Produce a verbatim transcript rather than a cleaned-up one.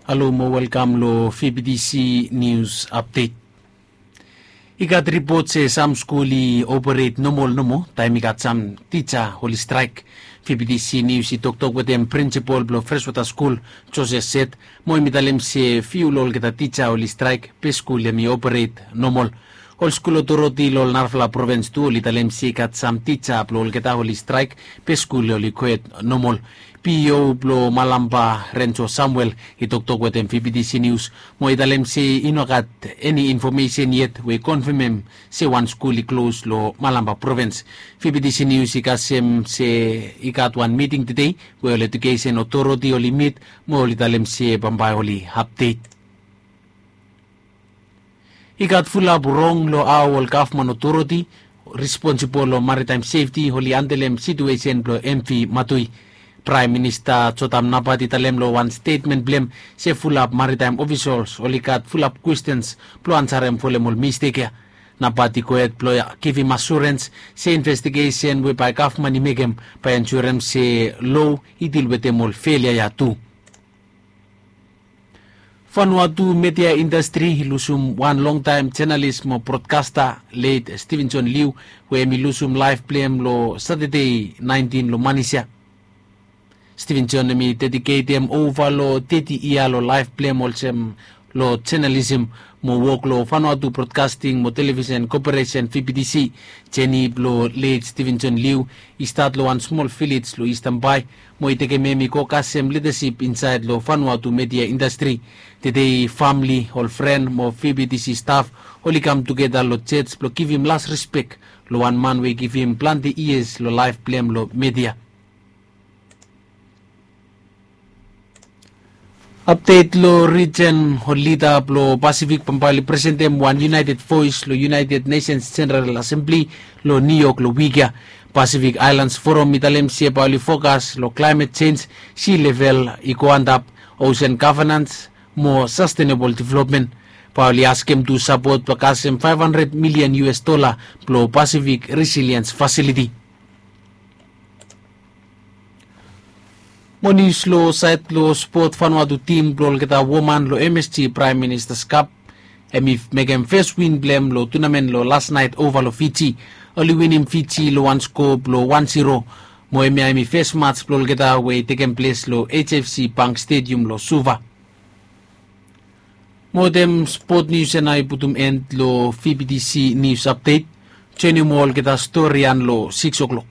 Alo mo welkam lo V B T C News Update. I gat ripot se sam skul i operate nomol nomo taem i gat sam tija oli straek. V B T C News i toktok wetem prinsipol blo Freshwater Skul, Joseph Set, mo hem i talem se fiu lo olgeta tija oli straek be skul hem i operate nomol. Ol skul otoriti lo ol narafala provins tu oli talem se i gat sam tija blo olgeta oli straek be skul oli kwet nomol. P E O blo Malampa, Renjo Samuel, i toktok wetem V B T C News mo i talem se i no gat eni infomesen yet we i konfemem se wan skul i klos lo Malampa provins. V B T C News i kasem se i gat wan miting tedei we ol edukesen otoriti oli mit mo oli talem se bambae oli apdet. I gat fulap rong lo hao ol gavman otoriti responsibol lo maritaem sefti oli andelem situesen blo M V Matui. Praem Minista Jotham Napat i talem lo wan stetmen blo hem se fulap maritaem ofisals oli gat fulap kwestens blo ansarem folem ol mistek ya. Napat i gohed blo givim asurens se investigesen we bae gavman i mekem bae ensurem se loa i dil wetem ol felia ya tu. Vanuatu media indastri i lusum wan longtaem jenalis mo brodkasta, let Stevenson Liu, we hem i lusum laef blo hem lo Satade naentin lo manis ya. Stevenson hem i dediketem ova lo teti yia lo laef blo hem olsem lo jenalisem mo wok lo Vanuatu Broadcasting mo Television Corporation, V B T C. Jeni blo let Stevenson Liu i stat lo wan smol vilej lo Eastern Bai mo i tekem hem i go kasem lidasip insaed lo Vanuatu media indastri. Tedei famle, ol fren mo V B T C staf oli kam tugeta lo jos blo givim las rispek lo wan man we i givim plante yias lo laef blo hem lo media. Apdet lo rijen, ol lida blo Pasifik bambae oli presentem wan yunaeted voes lo United Nations General Assembly lo New York lo wik ya. Pacific Islands Forum i talem se bae oli fokas lo klaemet jenj, si level i go antap, osen gavenans mo sastenebol developmen. Bae oli askem tu sapot blo kasem faef handred milian U S dola blo Pasifik Resiliens Fasiliti. Mo nius lo saed lo spot, Vanuatu tim blo olgeta woman lo M S G Praem Minista's Cup, hem i mekem fes win blo hem lo tunamen lo las naet ova lo Fiji. Oli winim Fiji lo wan skoa blo wan zero. Mo hemia hem i fes maj blo olgeta we i tekem ples lo H F C Bank Stadium lo Suva. Mo wetem spot nius ya nao i putum en lo V B T C News Update. Joenem olgeta stori ya lo sikis o'clock.